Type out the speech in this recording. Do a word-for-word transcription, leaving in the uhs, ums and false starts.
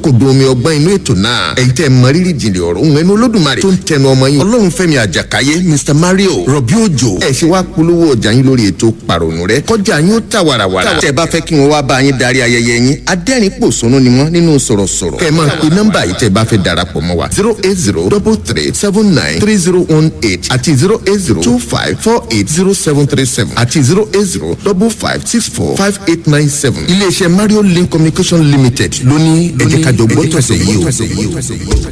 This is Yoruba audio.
kòkòdùn omi ọgbọ́n inú ètò náà. Ẹ̀yin tẹ́ mọ rírì jìnlẹ̀ ọ̀rọ̀ òun ẹnu Olódùmarè tó ń tẹnu ọmọ yín Ọlọ́runfẹ́mi Àjàkáyé, Mister Mario Rọ̀bí Òjò. Ẹ ṣe wá polówó ọjà yín lórí ètò Pàrònú Rẹ kọjá yín ó tà wàràwàrà. Tẹ́ bá fẹ́ kí wọ́n wá bá yín darí ayẹyẹ yín, adẹ́rìn pòṣónú ni wọ́n nínú sọ̀rọ̀sọ̀rọ̀. Kẹ́ ẹ máa pe nọ́mbà yìí tẹ́ bá fẹ́ darapọ̀ mọ́ wa: zero eight zero double three seven nine three zero one eight àti zero eight zero two five four eight zero seven three seven àti zero eight zero double five six four five eight nine seven. Iléeṣẹ́ Mario Link Communication Limited ló ní ẹ jẹ́ ká jọ gbọ́ tọ̀sẹ̀ yìí o.